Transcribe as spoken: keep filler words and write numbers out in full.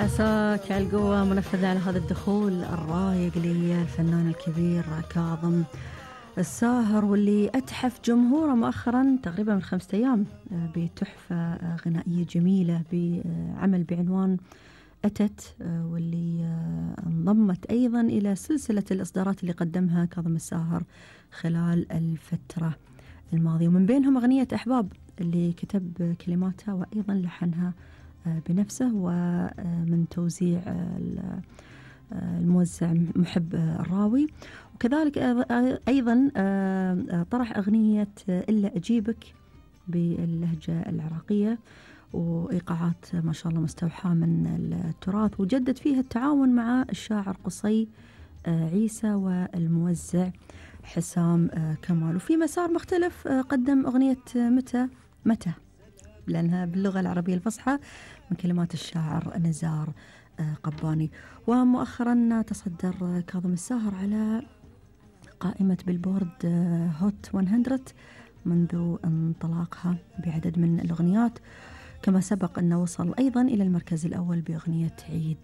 عساك على القوة منفذة على هذا الدخول الرايق للفنان الكبير كاظم الساهر، واللي أتحف جمهوره مؤخرا تقريبا من خمسة أيام بتحفة غنائية جميلة بعمل بعنوان أتت، واللي انضمت أيضا إلى سلسلة الإصدارات اللي قدمها كاظم الساهر خلال الفترة الماضية، ومن بينهم أغنية أحباب اللي كتب كلماتها وأيضا لحنها بنفسه، ومن توزيع الموزع محب الراوي. وكذلك أيضا طرح أغنية إلا أجيبك باللهجة العراقية، وإيقاعات ما شاء الله مستوحاة من التراث، وجدد فيها التعاون مع الشاعر قصي عيسى والموزع حسام كمال. وفي مسار مختلف قدم أغنية متى متى لأنها باللغة العربية الفصحى من كلمات الشاعر نزار قباني. ومؤخرا تصدر كاظم الساهر على قائمة بيلبورد هوت مئة منذ انطلاقها بعدد من الأغنيات، كما سبق أنه وصل أيضا إلى المركز الأول بأغنية عيد.